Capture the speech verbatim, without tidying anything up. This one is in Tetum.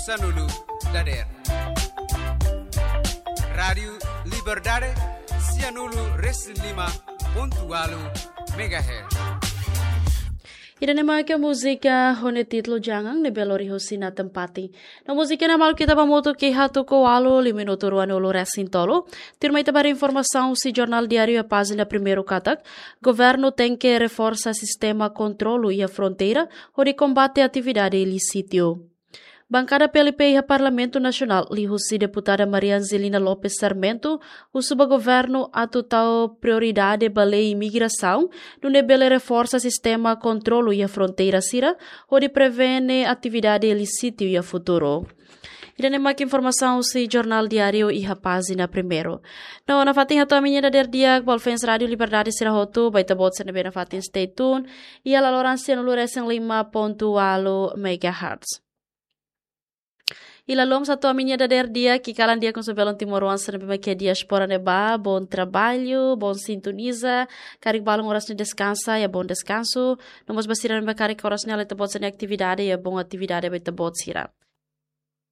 Sanulu dader. Rádiu Liberdade, sianulu resin lima pontu walu megahertz. Ida-ne'e mak múzika ho nia títulu Jangan ne'ebé lori husi Nathan Pati. No múzika ne'e malu ita ba hamutuk iha tuku ualu, liu minutu ruanulu resin tolu. Tuirmai ita ba haree informasaun husi Jornál Diáriu iha pájina primeiru katak, governu tenke reforsa sistema kontrolu iha fronteira, hodi kombate atividade ilísitu. Bankada P L P iha Parlamentu Nasionál, liuhusi deputada Maria Angelina Lopes Sarmento, husu ba governu atu tau prioridade ba lei imigrasaun, nune'e bele reforsa sistema kontrolu iha fronteira sira, hodi prevene atividade ilísitu iha futuru. Ida-ne'e mak informasaun husi Jornál Diáriu iha pájina primeiru. No, nafatin hato'o ami-nia dadeer di'ak ba fans Rádiu Liberdade sira hotu, ba ita-boot sira ne'ebé nafatin stay tune, iha laloran sianulu resin lima pontu walu megahertz. I lalika hato'o ami-nia dadeer di'ak, ki'ik-kalan di'ak husu ba belun timoroan sira ne'ebé mak iha diáspora ne'ebá, bom trabalho, bom sintoniza, karik balun oras ne'e deskansa, iha bom deskansu, no mós ba sira ne'ebé karik oras ne'e iha ita-boot sira-nia atividade, iha bom atividade ba ita-boot sira.